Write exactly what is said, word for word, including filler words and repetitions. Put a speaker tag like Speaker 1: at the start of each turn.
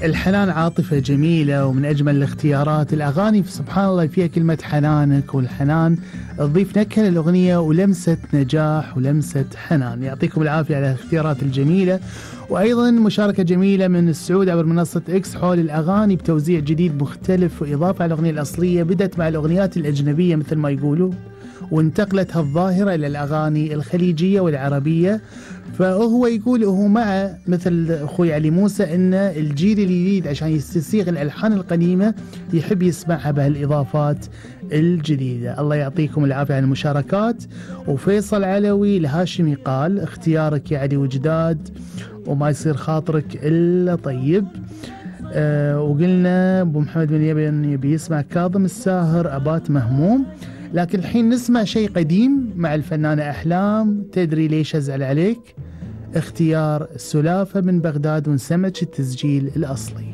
Speaker 1: الحنان عاطفة جميلة ومن أجمل الاختيارات. الأغاني سبحان الله فيها كلمة حنانك، والحنان تضيف نكهة للأغنية ولمسة نجاح ولمسة حنان. يعطيكم العافية على الاختيارات الجميلة. وأيضا مشاركة جميلة من السعود عبر منصة إكس حول الأغاني بتوزيع جديد مختلف وإضافة على الأغنية الأصلية. بدأت مع الأغنيات الأجنبية مثل ما يقولوا، وانتقلت هالظاهرة إلى الأغاني الخليجية والعربية. فهو يقول هو مع مثل أخوي علي موسى إن الجيل الجديد عشان يستسيغ الألحان القديمة يحب يسمعها بهالإضافات الجديدة. الله يعطيكم العافية على المشاركات. وفيصل علوي الهاشمي قال اختيارك يا علي وجداد وما يصير خاطرك إلا طيب. أه وقلنا أبو محمد بن يبن يبي يسمع كاظم الساهر أبات مهموم. لكن الحين نسمع شيء قديم مع الفنانة أحلام. تدري ليش أزعل عليك؟ اختيار سلافة من بغداد ونسمج التسجيل الأصلي.